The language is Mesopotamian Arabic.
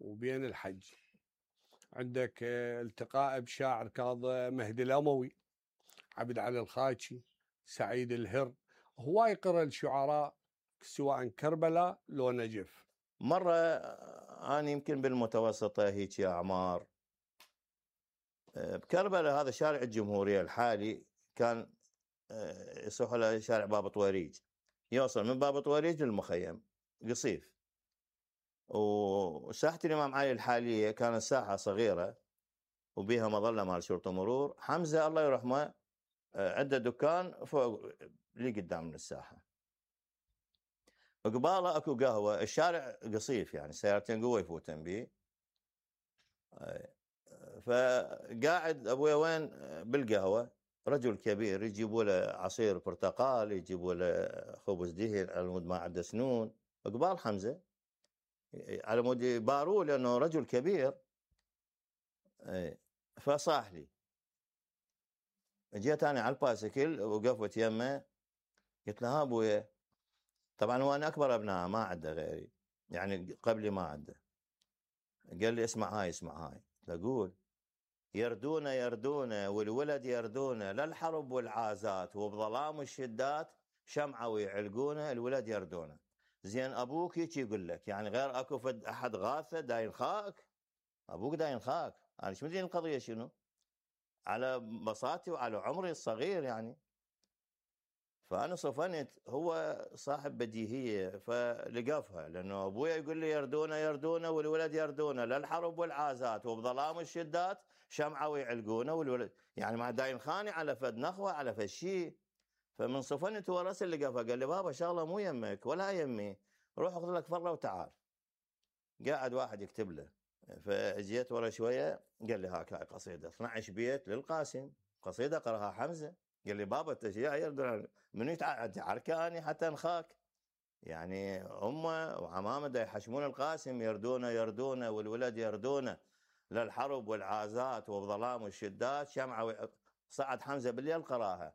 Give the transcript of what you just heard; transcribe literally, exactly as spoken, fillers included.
وبين الحج. عندك التقاء بشاعر كاظم مهدي الأموي، عبد علي الخاكي، سعيد الهر. هواي قرأ الشعراء سواء كربلاء لو نجف. مرة أنا يمكن بالمتوسطة هيك يا أعمار بكربلاء، هذا شارع الجمهورية الحالي كان يصح له شارع باب طويريج، يوصل من باب طويريج للمخيم قصيف. وساحة الإمام علي الحالية كانت ساحة صغيرة وبيها مظلة مال شرطة مرور. حمزة الله يرحمه عنده دكان فوق اللي قدام من الساحة، قباله اكو قهوة. الشارع قصيف يعني سيارتين قوة يفوتن بيه. فقاعد ابويا وين بالقهوة، رجل كبير يجيبوا له عصير برتقال، يجيبوا له خبز دهن على مود ما عنده سنون، قبال حمزة على مود يباروه لانه رجل كبير. فصاح لي، جيت انا على البايسكل وقفت يمه، قلت له ها ابويا، طبعا هو انا اكبر ابنائه ما عنده غيري يعني قبلي ما عنده. قال لي اسمع هاي اسمع هاي. اقول يردونه يردونه والولد يردونه للحرب والعازات وبظلام الشدات شمعه ويعلقونه الولد يردونه. زين ابوك هيك يقول لك يعني غير اكو فد احد غاثه داين خاك؟ ابوك داين خاك. انا شو مدري القضيه شنو على بساطتي وعلى عمري الصغير يعني. فأنا صفنت، هو صاحب بديهية فلقفها، لأنه أبويا يقول لي يردونه يردونه والولد يردونه للحرب والعازات وبظلام الشدات شمعة ويعلقونه والولد، يعني ما داين خاني على فد نخوة على فد شيء. فمن صفنت هو راسل لقفها، قال لي بابا شغلة مو يمك ولا يمي، روح اخذ لك فرة وتعال. قاعد واحد يكتب له. فجيت ورا شوية قال لي هاك هاي قصيدة اثنعش بيت للقاسم، قصيدة قرأها حمزة. قال لي بابا التشييع يردون من يتعركاني حتى نخاك يعني. امه وعمامه دا يحشمون القاسم يردونه يردونه والولد يردونه للحرب والعازات وبظلام الشدات شمعه. صعد حمزه بالليل قراها.